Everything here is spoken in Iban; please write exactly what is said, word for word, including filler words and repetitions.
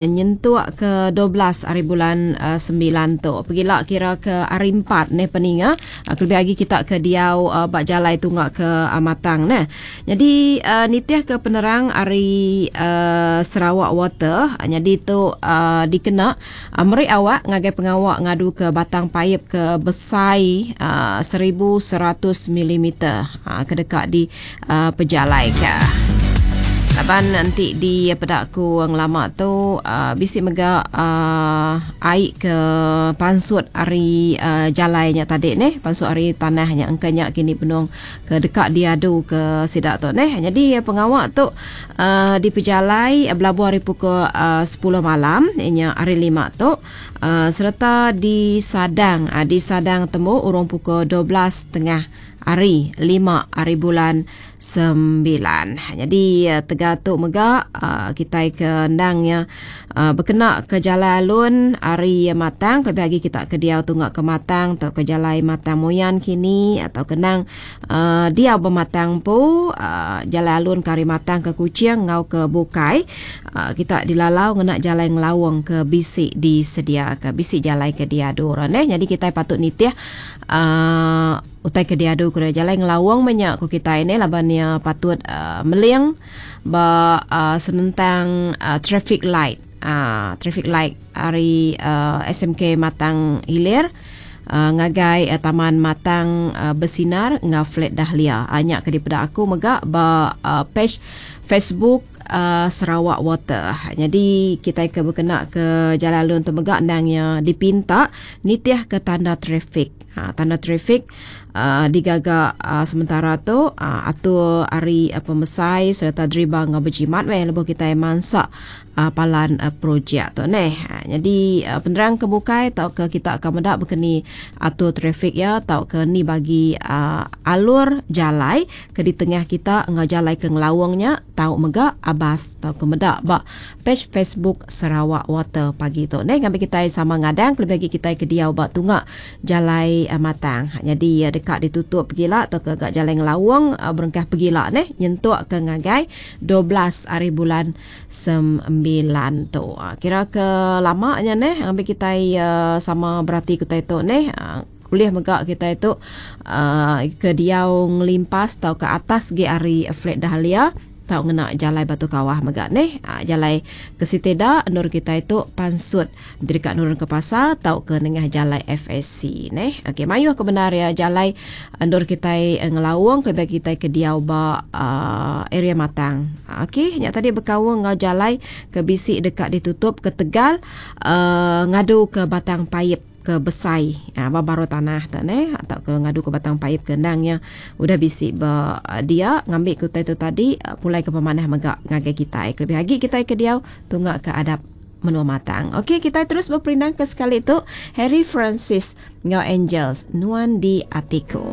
Nyentuk ke dua belas hari bulan uh, sembilan tu. Pegila kira ke hari empat neh peninga. Uh, kelebih lagi kita ke diau uh, ba jalai tunga ke uh, Matang neh. Jadi uh, nitih ke penerang ari uh, Sarawak Water, uh, jadi tu uh, dikena uh, meri awak ngagai pengawa ngadu ke batang paip ke besai uh, seribu seratus milimeter uh, ke deka di uh, pejalai ke. Laban nanti di pedaku ngelama tu uh, bisi mega uh, air ke pansut ari uh, jalainya tadi neh, pansut ari tanahnya engkanya kini penuh ke dekat diadu ke sidak tu neh. Jadi pengawak tu uh, di pejalai belabuh hari pukul uh, sepuluh malam inya hari lima tu uh, serta disadang uh, disadang temu urung pukul dua belas tengah hari lima hari bulan sembilan. Jadi tega tu mega kita ke endangnya berkena ke jalan alun hari Matang, lebih lagi kita ke diau tunggak ke Matang atau ke jalan Matang Moyan kini atau kenang uh, diau bermatang pu uh, jalan alun ke hari Matang ke Kuching ngau ke Bukai, uh, kita dilalau ngena jalan ngelawang ke bisi disedia ke bisi jalan ke diadu orang eh. Jadi kita patut nitih uh, utai ke diadu ke jalan ngelawang banyak ku kita ini labannya patut uh, meling ba uh, senentang uh, traffic light uh, traffic light hari uh, S M K Matang Hilir uh, ngagai uh, Taman Matang uh, Bersinar ngau Flat Dahlia. Anyak ke daripada aku mega ba uh, page Facebook uh, Sarawak Water. Jadi kita ke berkena ke jalan alun tu mega endangnya dipinta nitih ke tanda trafik. Ha, tanda trafik uh, digaga uh, sementara tu uh, atur hari uh, pemesai serta driba ngau berjimat weh lebuh kita mansak uh, palan uh, projek tu neh. Ha, jadi uh, penerang ke bukai tau ke kita akan mendak berkeni atur trafik ya tau ke ni bagi uh, alur jalai ke di tengah kita ngau jalai ke ngelawangnya tau mega abas tau ke medak ba page Facebook Sarawak Water pagi tu neh. Ngambil kita sama ngadang lebih lagi kita ke diau ba tunggak jalai uh, Matang. Jadi uh, dekat ditutup pergila atau ke gak jalan ngelawang uh, berengkah pergila neh nyentuk ke ngagai dua belas hari bulan sembilan tu. Uh, kira ke lamanya neh ambil kita uh, sama berarti kita itu neh. Uh, kuliah mega kita itu uh, ke diau ngelimpas atau ke atas ge hari Flat Dahlia tau ngena jalai Batu Kawah mega neh. Ha, jalai ke Siteda nur kita itu pansut dekat nurun ke pasar tau ke nengah jalai F S C neh. Okey, mayuh ke benar ya jalai nur kita ngelawang ke bagi kita ke diau ba uh, area Matang. Ha, okey, nyak tadi berkawang ngau jalai ke bisi dekat ditutup ke Tegal uh, ngadu ke batang paip ke besai ha, baru tanah tak neh atau ke ngadu ke batang paip ke endangnya udah bisi ba dia ngambil ke utai tu tadi pulai ke pemanah mega ngagai kita lebih lagi kita ke diau tunggak ke adap menua Matang. Okey, kita terus berperindang ke sekali tu Harry Francis ngau Angels Nuan di Atiku.